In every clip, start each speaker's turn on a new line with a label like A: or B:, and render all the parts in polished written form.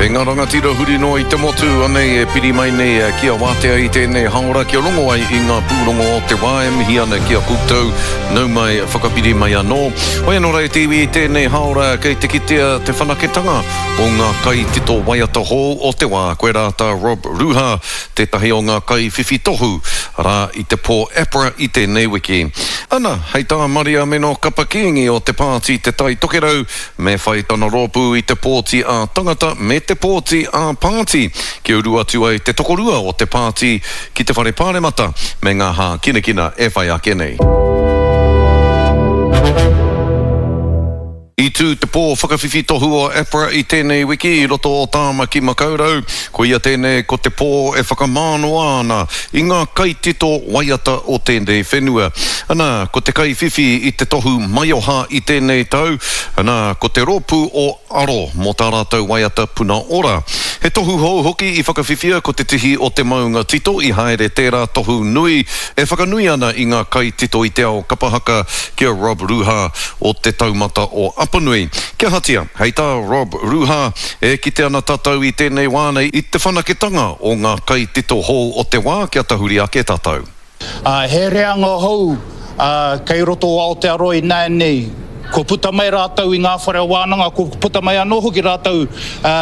A: E ngā rangatira huri noa i te motu, anei e piri mai nei kia wātea i tēnei haora kia rongo ai i ngā pūrongo o te wā e mihi ana ki a koutou, nau mai, whakapiri mai anō. Hoi anō rā e te iwi i tēnei haora kei te kitea te whanaketanga o ngā kaitito waiata hou o te wā, koirā tā Rob Ruha, tētahi o ngā kaiwhiwhi tohu, arā, i te pō APRA i tēnei wiki. Ana, hei tā Mariameno Kapa Kīngi o te Pāti Te Tai Tokerau, Me whai tana rōpū i te pōti ā-tangata me te pōti ā-pāti kia uru atu ai te tokorua o te pāti ki te Whare Pāremata me ngā hākinakina e whai ake nei. I tū te pō whakawhiwhi tohu o APRA i tēnei wiki i roto o Tāmaki Makaurau. Koia tēnei ko te pō e whakamānoa ana i ngā kaitito waiata o tēnei whenua. Ana, ko te kaiwhiwhi i te tohu maioha i tēnei tau, ana, ko te rōpū o Aro mō tā rātou waiata Puna Ora. He tohu hou hoki i whakawhiwhia ko Te Tihi o te Maunga Tito i haere tērā tohu nui e whakanui ana i ngā kaitito i te ao kapa haka ki a Rob Ruha o Te Taumata o Apanui. Kia ahatia, hei tā Rob Ruha, E kite ana tatou i tenei wā nei i te whanaketanga o nga kaitito hou o te wā kia tahuri ake tatou.
B: Ā, he reanga hou, ā, kei roto o Aotearoa ināianei. Kua puta mai rātou i ngā whare wānanga, kua puta mai anō hoki rātou, ā,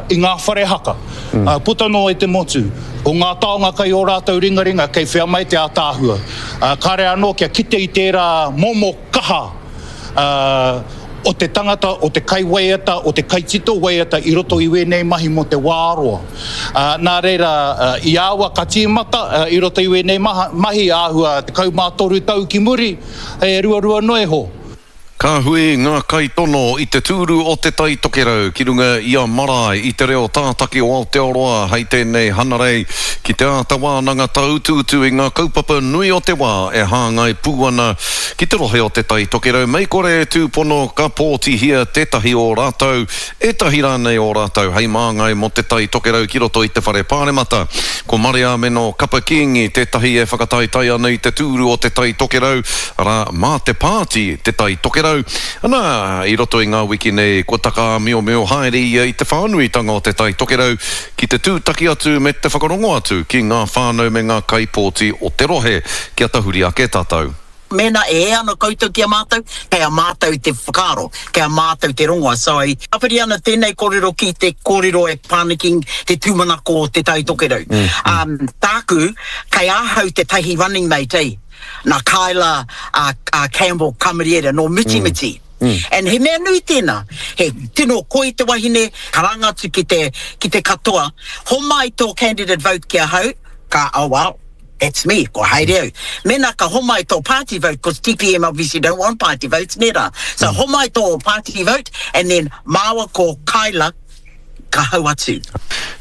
B: i ngā whare haka, ā, puta noa i te motu. Ko ngā taonga kei ō rātou ringaringa, kei whea mai te ātaahua. Ā, kāre anō kia kite i tērā momo kaha, ā, o te tangata, o te kaiwaiata, o te kaitito waiata i roto i wēnei mahi mō te wā roa. Ā, nā reira, i aua ka tīmata i roto i wēnei mahi āhua 13 tau ki muri, he ruarua noa iho.
A: Ka hui ngā kaitono i te tūru o Te Tai Tokerau ki runga i a Marae i te reo tātaki o Aotearoa hei tēnei Hanarei ki te āta wānanga tāutuutu i ngā kaupapa nui o te wā e hāngai pū ana Ki te rohe o Te Tai Tokerau mei kore e tūpono ka pōtihia tētahi o rātou, ētahi rānei o rātou hei māngai mō Te Tai Tokerau ki roto i te Whare Pāremata. Ko Mareameno Kapa Kīngi tētahi e whakataetae ana i te tūru o Te Tai Tokerau, arā, mā te pāti Te Tai Tokerau. Anā, i roto i ngā wiki nei kua takaāmiomio haere ia i te whānuitanga o Te Tai Tokerau ki te tūtaki atu me te whakarongo atu ki ngā whānau me ngā kaipōti o te rohe kia tahuri ake tātou.
C: Mēnā e hē ana koutou ki a mātou, kei a mātou te whakaaro, kei a mātou te rongoa. So, e tāpiri ana tēnei kōrero ki te kōrero e pā ana ki te tūmanako o Te Tai Tokerau. Um, tāku, kei ahau tētahi running mate, eh, nā Kyla uh, uh, Campbell Kamariera, nō Mitimiti. Mm. And he mea nui tēnā, he tino koi te wahine, karanga atu ki te, ki te katoa, homai tō candidate vote ki ahau, ka, oh well, that's me, kua haere au. Mēnā ka homai tō party vote, cause TPM obviously don't want party votes, nē rā. So homai tō party vote, and then māua ko Kyla, ka hau atu.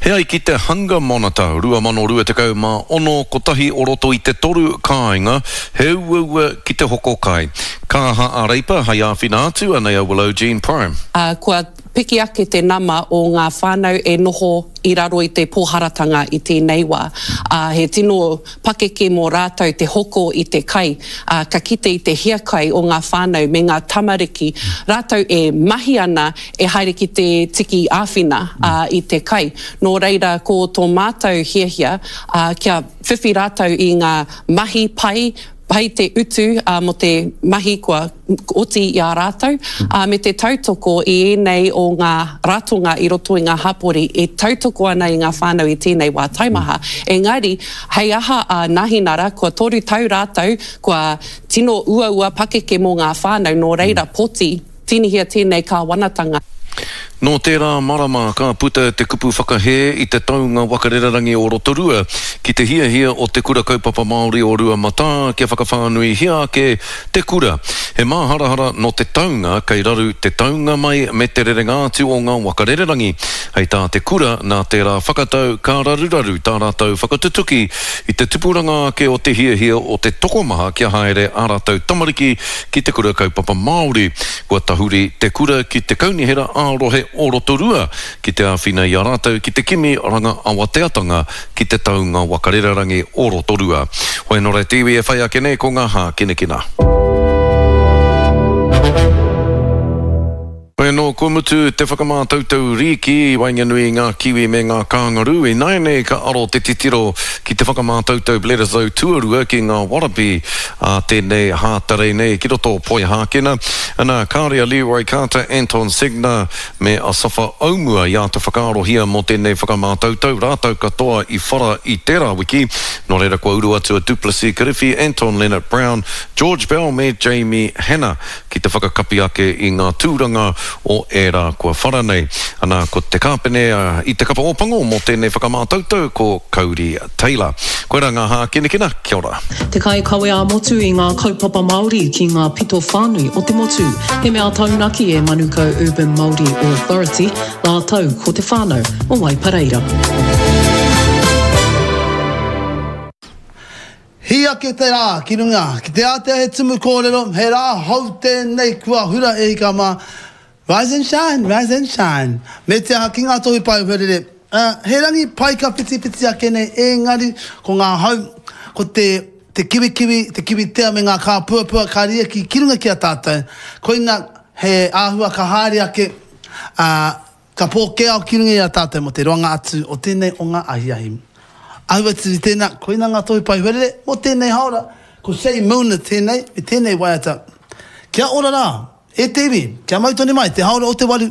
A: He ai ki te Hunger Monitor 2026, kotahi o roto i te toru kāinga he uaua ki te hoko kai. Ka aha a Reipa hei āwhina atu, anei a Willow Jean Prime.
D: Ā, kua piki ake te nama o ngā whānau e noho i raro i te pōharatanga i tēnei wā. Ā, he tino pakeke mō rātou te hoko i te kai, ā, ka kite i te hiakai o ngā whānau me ngā tamariki, rātou e mahi ana, e haere ki te tiki āwhina, ā, i te kai. Nō reira, ko tō mātou hiahia, ā, kia whiwhi rātou i ngā mahi pai, pai te utu, ā, mō te mahi kua oti i a rātou, ā, me te tautoko i ēnei o ngā ratonga i roto i ngā hapori e tautoko ana i ngā whānau i tēnei wā taimaha. Engari, hei aha a Nahinara, kua toru tau rātou, kua tino uaua pakeke mō ngā whānau, nō reira, poti, tīnihia tēnei kāwanatanga.
A: Nō tērā marama ka puta te kupu whakahē i te taunga waka rererangi o Rotorua ki te hiahia o Te Kura Kaupapa Māori o Ruamatā kia whakawhānuihia ake te kura. He māharahara nō te taunga kei raru te taunga mai me te rerenga atu o ngā waka rererangi. Hei tā te kura, nā tērā whakatau ka raruraru tā rātou whakatutuki i te tupuranga ake o te hiahia o te tokomaha kia haere ā rātou tamariki ki te Kura Kaupapa Māori. Kua tahuri te kura ki te Kaunihera ā-Rohe o Rotorua ki te āwhina i a rātou ki te kimi ranga awateatanga ki te taunga waka rererangi o Rotorua. Hoi anō rā te iwi e whai ake nei ko ngā hākinakina. Hoi anō, kua mutu te whakamātautau rīki i waenganui i ngā Kiwi me ngā Kāngarū. Ināianei ka aro te titiro ki te whakamātautau Bledisloe tuarua ki ngā Wallaby ā tēnei Hātarei nei ki roto o Poihākena. Ana, kāore a Leroy Carter, Anton Segner me Asafa Aumua i āta whakaarohia mō tēnei whakamātautau, rātou katoa i whara i tērā wiki. Nō reira kua uru atu a Duplessis Kirifi, Anton Lienert-Brown, George Bell me Jamie Hannah. ki te whakakapi ake i ngā tūranga o ērā kua whara nei. Ana, ko te kāpene i te kapa Ōpango mō tēnei whakamātautau ko Kauri Taylor. Koirā ngā hākinakina, kia ora.
E: Te kaikawe ā-motu i ngā kaupapa Māori ki ngā pito whānui o te motu. He mea taunaki e Manukau Urban Māori Authority rātou ko te whānau o Waipareira.
F: Hī ake te rā ki runga, ki te ātea he tumu kōrero, he rā hou tēnei kua hura e hika mā, Rise and shine, rise and shine. Me te aha ki ngā tohu pae huarere, ā, he rangi pai ka whitiwhiti ake nei ēngari ko ngā hau, ko te te kiwikiwi, te kiwitea me ngā kāpuapua ka riaki ki runga ki a tātou, koina he āhua ka haere ake, ā, Ka pōkēao ki runga i a tātou mō te roanga atu o tēnei o ngā ahiahi. Ahu atu i tēnā, koina ngā tohu pai huarere mō tēnei haora, ko Shay Milner tēnei me tēnei waiata. Kia ora rā, e te iwi, kia mau tonu mai te haora o te waru.